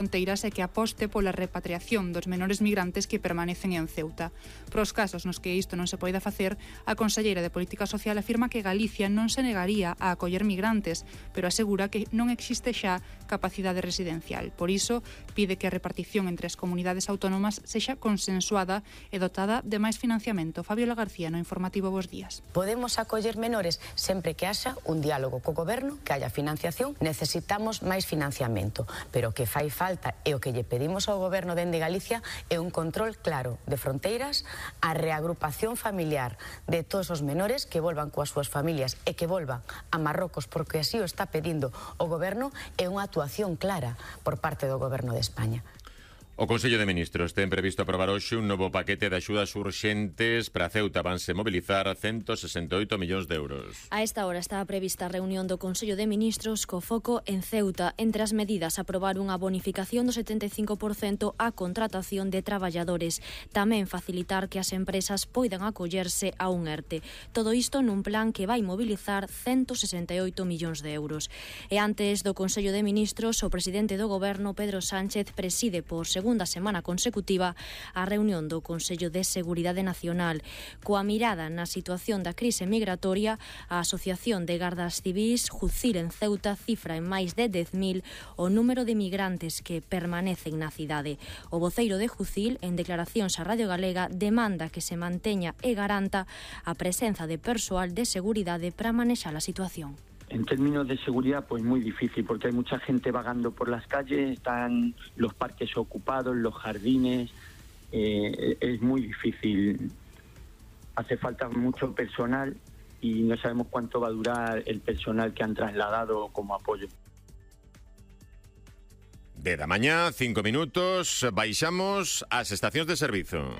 fronteiras e que aposte pola repatriación dos menores migrantes que permanecen en Ceuta. Para os casos nos que isto non se poida facer, a conselleira de Política Social afirma que Galicia non se negaría a acoller migrantes, pero asegura que non existe xa capacidade residencial. Por iso, pide que a repartición entre as comunidades autónomas sexa consensuada e dotada de máis financiamento. Fabiola García, no informativo Bos Días. Podemos acoller menores sempre que haxa un diálogo co goberno, que haya financiación. Necesitamos máis financiamento, pero que fai falta e o que lle pedimos ao goberno dende Galicia é un control claro de fronteiras, a reagrupación familiar de todos os menores que volvan coas súas familias e que volvan a Marrocos porque así o está pedindo o goberno e unha actuación clara por parte do goberno de España. O Consello de Ministros ten previsto aprobar hoxe un novo paquete de axudas urxentes para Ceuta. Vanse mobilizar 168 millóns de euros. A esta hora está prevista a reunión do Consello de Ministros co foco en Ceuta. Entre as medidas, aprobar unha bonificación do 75% á contratación de traballadores. Tamén facilitar que as empresas poidan acollerse a un ERTE. Todo isto nun plan que vai mobilizar 168 millóns de euros. E antes do Consello de Ministros, o presidente do Goberno, Pedro Sánchez, preside por segunda semana consecutiva a reunión do Consello de Seguridade Nacional. Coa mirada na situación da crise migratoria, a Asociación de Gardas Civís JUCIL en Ceuta cifra en máis de 10.000 o número de migrantes que permanecen na cidade. O voceiro de JUCIL, en declaracións a Radio Galega, demanda que se manteña e garanta a presenza de persoal de seguridade para manexar a situación. En términos de seguridad, pues muy difícil, porque hay mucha gente vagando por las calles, están los parques ocupados, los jardines, es muy difícil. Hace falta mucho personal y no sabemos cuánto va a durar el personal que han trasladado como apoyo. 10 da mañá, 5 minutos, baixamos ás estacións de servizo.